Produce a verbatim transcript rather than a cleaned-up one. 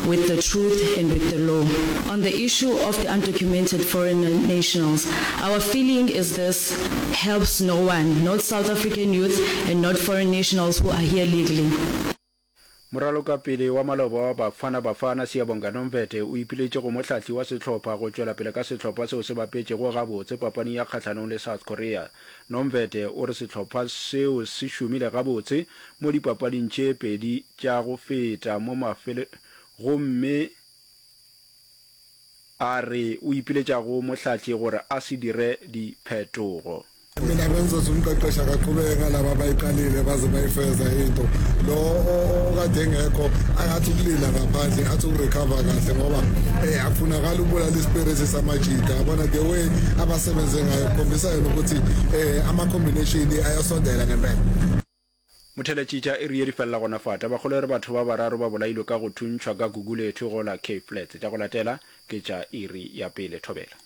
with the truth and with the law. On the issue of the undocumented foreign nationals, our feeling is this helps no one, not South African youth and not foreign nationals who are here legally. Moralokapele wa maloba wa Bafana Bafana, Siyabonga Nomvethe, o ipiletše go mohlahli wa sehlopha go tšwela pele ka sehlopha seo se bapetšego gabotse papading ya kgahlanong le South Korea. Nomvethe o re sehlopha seo se šomile gabotse mo dipapading tše pedi tša go feta mo mafele gomme a re o ipiletša go mohlahli gore a se dire diphetogo. Mina bengizothi umqeqeshi akaqhubeke ngalaba abayiqalile baze bayifeza into. Lo okade engekho akathi ukulinda ngaphandle athi ukurecover kahle ngoba eh akufunakala ukubulala ispirit samajita. Yabona the way abasebenze ngayo kukhombisa yena ukuthi eh ama combination ayasondela ngempela. Motheletši tša iri ye di felela gona fa. Tabakgolo e re batho ba bararo ba bolailwe ka go thuntšhwa ka Gugulethu go la Cape Flats. Tša go latela ke tša iri ya pele. Thobela.